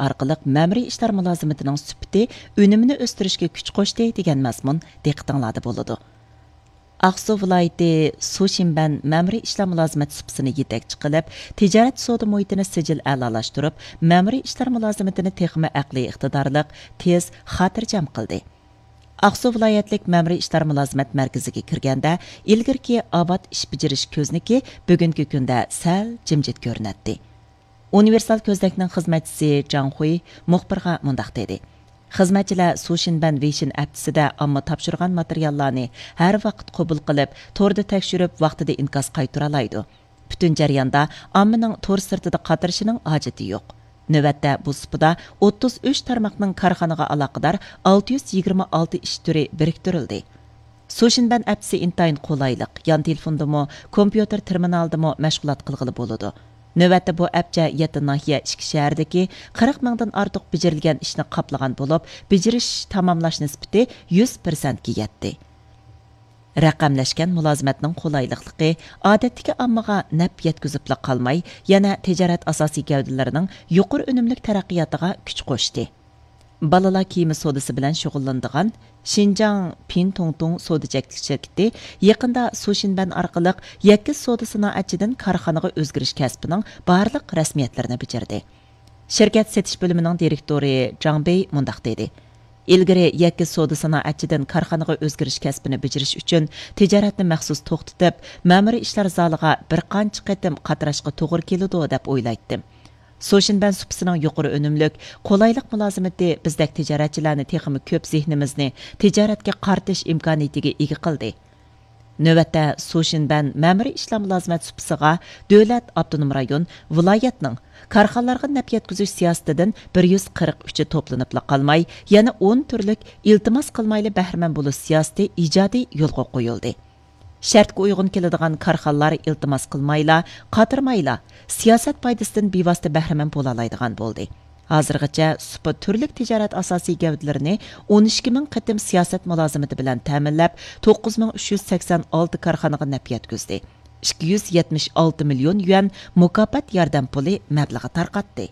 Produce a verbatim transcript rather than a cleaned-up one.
ئارقىلىق مەمۇرىي ئىشلار مۇلازىمىتىنىڭ سۈپىتى، ئۈنۈمىنى ئۆستۈرۈشكە كۈچ قوشتى دېگەن مەزمۇن دىققىتىڭلاردا بولىدۇ. ئاقسۇ ۋىلايىتى سۇشىنبەن مەمۇرىي ئىشلار مۇلازىمەت سۇپىسىنى يېتەكچى قىلىپ، تىجارەت سودا مۇھىتىنى سىجىل ئەلالاشتۇرۇپ، مەمۇرىي ئىشلار مۇلازىمىتىنى تېخىمۇ ئەقلىي ئىقتىدارلىق، تېز، خاتىرجەم قىلدى. ئاقسۇ ۋىلايەتلىك مەمۇرىي ئىشلار مۇلازىمەت مەركىزىگە كىرگەندە، ئىلگىرىكى ئاۋات ئىش بېجىرىش كۆزنىكى بۈگۈنكى كۈندە سەل جىمجىت كۆرۈنەتتى. ئۇنىۋېرسال كۆزنەكنىڭ خىزمەتچىسى جاڭ خۇي مۇخبىرغا مۇنداق دېدى: خىزمەتچىلەر سۇشىنبەن ۋېيشىن ھەپتىسىدە ئامما تاپشۇرغان ماتېرىياللارنى ھەر ۋاقىت قوبۇل قىلىپ، توردا تەكشۈرۈپ، ۋاقتىدا ئىنكاس قايتۇرالايدۇ. پۈتۈن جەرياندا ئاممىنىڭ تور سىرتىدا قاترىشىنىڭ ھاجىتى يوق. نۆۋەتتە بۇ سۇپىدا ئوتتۇز ئۈچ تارماقنىڭ كارخانىغا ئالاقىدار ئالتە يۈز يىگىرمە ئالتە ئىش تۈرى بىرىكتۈرۈلدى. سۇشىنبەن ئەپچىسى ئىنتايىن قولايلىق، يان تېلېفوندىمۇ، كومپيۇتېر تېرمىنالىدىمۇ مەشغۇلات قىلغىلى بولىدۇ. نۆۋەتتە بۇ ئەپچە يەتتە ناھىيە، ئىككى شەھەردىكى قىرىق مىڭدىن ئارتۇق بېجىرىلگەن ئىشنى قاپلىغان بولۇپ، بېجىرىش تاماملاش نىسبىتى يۈز پىرسەنتكە يەتتى. رەقەملەشكەن مۇلازىمەتنىڭ قولايلىقلىقى ئادەتتىكى ئاممىغا نەپ يەتكۈزۈپلا قالماي، يەنە تىجارەت ئاساسىي گەۋدىلىرىنىڭ يۇقىرى ئۈنۈملۈك تەرەققىياتىغا كۈچ قوشتى. بالىلار كىيىمى سودىسى بىلەن شۇغۇللىنىدىغان شىنجاڭ پىنتۇڭتۇڭ سودا چەكلىك شىركىتى يېقىندا سۇشىنبەن ئارقىلىق يەككە سودا سانائەتچىدىن كارخانىغا ئۆزگىرىش كەسپىنىڭ بارلىق رەسمىيەتلىرىنى بېجىردى. شىركەت سېتىش بۆلۈمىنىڭ دىرېكتورى جاڭ بېي مۇنداق دېدى: ئىلگىرى يەككە سودا سانائەتچىدىن كارخانىغا ئۆزگىرىش كەسپىنى بېجىرىش ئۈچۈن تىجارەتنى مەخسۇس توختىتىپ، مەمۇرىي ئىشلار زالىغا بىر قانچە قېتىم قاتراشقا توغرا كېلىدۇ دەپ ئويلايتتىم. سۇشىنبەن سۇپىسىنىڭ يۇقىرى ئۈنۈملۈك، قولايلىق مۇلازىمىتى بىزدەك تىجارەتچىلەرنى تېخىمۇ كۆپ زېھنىمىزنى تىجارەتكە قارىتىش ئىمكانىيىتىگە ئىگە قىلدى. نۆۋەتتە سۇشىنبەن مەمۇرىي ئىشلار مۇلازىمەت سۇپىسىغا دۆلەت، ئاپتونوم رايون، ۋىلايەتنىڭ كارخانىلارغا نەپ يەتكۈزۈش سىياسىتىدىن بىر يۈز قىرىق ئۈچى توپلىنىپلا قالماي، يەنە ئون تۈرلۈك ئىلتىماس قىلمايلا بەھرىمەن بولۇش سىياسىتى ئىجادىي يولغا قويۇلدى. شەرتكە ئۇيغۇن كېلىدىغان كارخانىلار ئىلتىماس قىلمايلا، قاترىمايلا، سىياسەت پايدىسىدىن بىۋاسىتە بەھرىمەن بولالايدىغان بولدى. ھازىرغىچە سۇپا تۈرلۈك تىجارەت ئاساسىي گەۋدىلىرىنى ئون ئىككى مىڭ قېتىم سىياسەت مۇلازىمىتى بىلەن تەمىنلەپ، توققۇز مىڭ ئۈچ يۈز سەكسەن ئالتە كارخانىغا نەپ يەتكۈزدى. ئىككى يۈز يەتمىش ئالتە مىليون يۈەن مۇكاپات ياردەم پۇلى مەبلىغى تارقاتتى.